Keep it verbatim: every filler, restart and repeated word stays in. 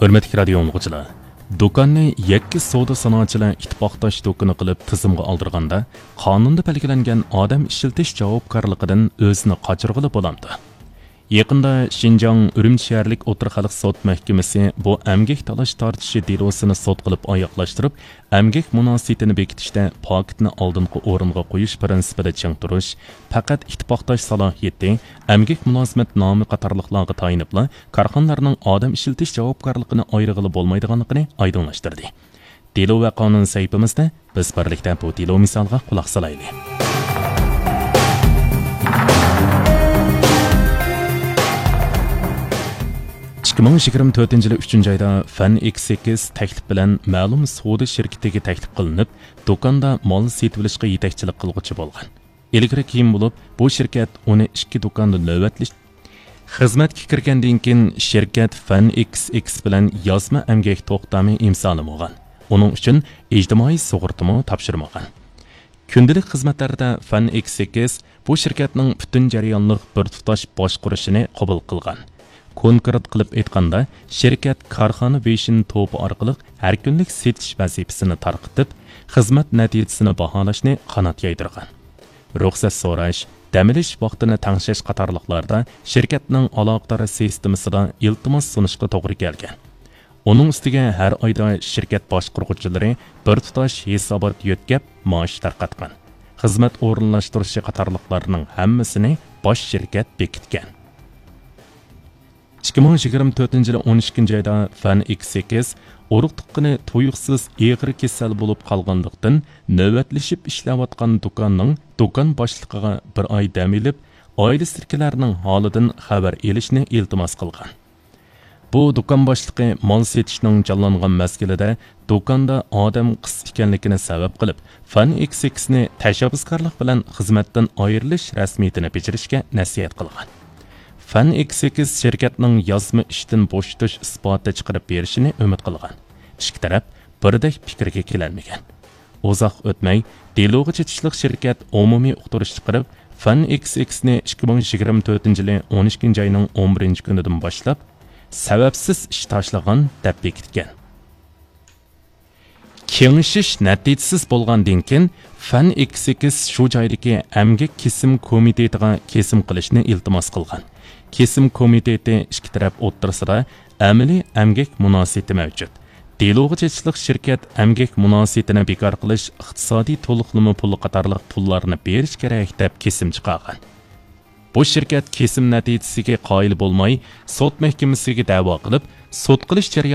ھۆرمەتلىك رادىيو ئاڭلىغۇچىلار، دۇكاننى يەككە سودا سانائەتچىلەر ئىتتىپاقداش دۇكىنى قىلىپ تىزىمغا ئالدۇرغاندا، قانۇندا بەلگىلەنگەن ئادەم ئىشلىتىش جاۋابكارلىقىدىن ئۆزىنى قاچۇرغىلى بولامدۇ؟ يېقىندا شىنجاڭ ئۈرۈمچى شەھەرلىك ئوتتۇرا خەلق سوت مەھكىمىسى بۇ ئەمگەك تالاش تارتىشى دېلوسىنى سوت قىلىپ ئاياغلاشتۇرۇپ، ئەمگەك مۇناسىۋىتىنى بېكىتىشتە پاكىتنى ئالدىنقى ئورۇنغا قويۇش پىرىنسىپىدا چىڭ تۇرۇش، پەقەت ئىتتىپاقداش سالاھىيىتى، ئەمگەك مۇلازىمەت نامى قاتارلىقلارغا تايىنىپلا كارخانىلارنىڭ ئادەم ئىشلىتىش جاۋابكارلىقىنى ئايرىغىلى بولمايدىغانلىقىنى ئايدىڭلاشتۇردى. دېلو ۋە قانۇن سەھىپىمىزدە بىز بىرلىكتە بۇ دېلو مىسالىغا قۇلاق سالايلى. ئىككى مىڭ يىگىرمە تۆتىنچى يىلى ئۈچىنچى ئايدا فەن ئىكس ئىكس تەكلىپ بىلەن مەلۇم سودا شىركىتىگە تەكلىپ قىلىنىپ، دۇكاندا مال سېتىۋېلىشقا يېتەكچىلىك قىلغۇچى بولغان. ئىلگىرى كېيىن بولۇپ، بۇ شىركەت ئۇنى ئىككى دۇكاندا نۆۋەتلىشىپ، خىزمەتكە كىرگەندىن كېيىن، شىركەت فەن ئىكس ئىكس بىلەن يازما ئەمگەك توختامى ئىمزالىمىغان. ئۇنىڭ ئۈچۈن ئىجتىمائىي سۇغۇرتىمۇ تاپشۇرمىغان. كۈندىلىك خىزمەتلەردە فەن ئىكس ئىكس بۇ شىركەتنىڭ پۈتۈن جەريانلىق بىر تۇتاش باشقۇرۇشىنى قوبۇل قىلغان. كونكرېت قىلىپ ئېيتقاندا، شىركەت كارخانا ۋىژن توپى ئارقىلىق ھەر كۈنلۈك سېتىش ۋەزىپىسىنى تارقىتىپ، خىزمەت نەتىجىسىنى باھالاشنى قانات يايدۇرغان. رۇخسەت سوراش، دەم ئېلىش ۋاقتىنى تەڭشەش قاتارلىقلاردا شىركەتنىڭ ئالاقىدار سىستېمىسىدا ئىلتىماس سۇنۇشقا توغرا كەلگەن. ئۇنىڭ ئۈستىگە ھەر ئايدا شىركەت باشقۇرغۇچىلىرى بىر تۇتاش ھېسابات يۆتكەپ، مائاش تارقاتقان. خىزمەت ئورۇنلاشتۇرۇشى قاتارلىقلارنىڭ ھەممىسىنى باش شىركەت بېكىتكەن. ئىككى مىڭ يىگىرمە تۆتىنچى يىلى ئون ئىككىنچى ئايدا فەن ئىكس ئىكس ئۇرۇق تۇغقىنى تۇيۇقسىز ئېغىر كېسەل بولۇپ قالغانلىقتىن، نۆۋەتلىشىپ ئىشلەۋاتقان دۇكاننىڭ دۇكان باشلىقىغا بىر ئاي دەم ئېلىپ، ئائىلىسىدىكىلەرنىڭ ھالىدىن خەۋەر ئېلىشنى ئىلتىماس قىلغان. بۇ دۇكان باشلىقى مال سېتىشنىڭ جانلانغان مەزگىلىدە دۇكاندا ئادەم قىس ئىكەنلىكىنى سەۋەب قىلىپ، فەن ئىكس ئىكسنى تەشەببۇسكارلىق بىلەن خىزمەتتىن ئايرىلىش رەسمىيىتىنى بېجىرىشكە نەسىھەت قىلغان. فەن ئىكس ئىكس شىركەتنىڭ يازما ئىشتىن بوشىتىش ئىسپاتى چىقىرىپ بېرىشىنى ئۈمىد قىلغان. ئىككى تەرەپ بىردەك پىكىرگە كېلەلمىگەن. ئۇزاق ئۆتمەي، دېلوغا چېتىشلىق شىركەت ئومۇمىي ئۇقتۇرۇش چىقىرىپ، فەن ئىكس ئىكسنى ئىككى مىڭ يىگىرمە تۆتىنچى يىلى ئون ئىككىنچى ئاينىڭ ئون بىرىنچى كۈنىدىن باشلاپ، سەۋەبسىز ئىش تاشلىغان دەپ بېكىتكەن. كېڭىشىش نەتىجىسىز بولغاندىن كېيىن، فەن ئىكس ئىكس شۇ جايدىكى ئەمگەك كېسىم كومىتېتىغا كېسىم قىلىشنى ئىلتىماس قىلغان. كېسىم كومىتېتى ئىككى تەرەپ ئوتتۇرىسىدا ئەمەلىي ئەمگەك مۇناسىۋىتى مەۋجۇت. دېلوغا چېتىشلىق شىركەت ئەمگەك مۇناسىۋىتىنى بىكار قىلىش ئىقتىسادىي تولۇقلىما پۇلى قاتارلىق پۇللارنى بېرىش كېرەك دەپ كېسىم چىقارغان. بۇ شىركەت كېسىم نەتىجىسىگە قايىل بولماي، سوت مەھكىمىسىگە دەۋا قىلىپ، سوت قىلىش جەريانىدا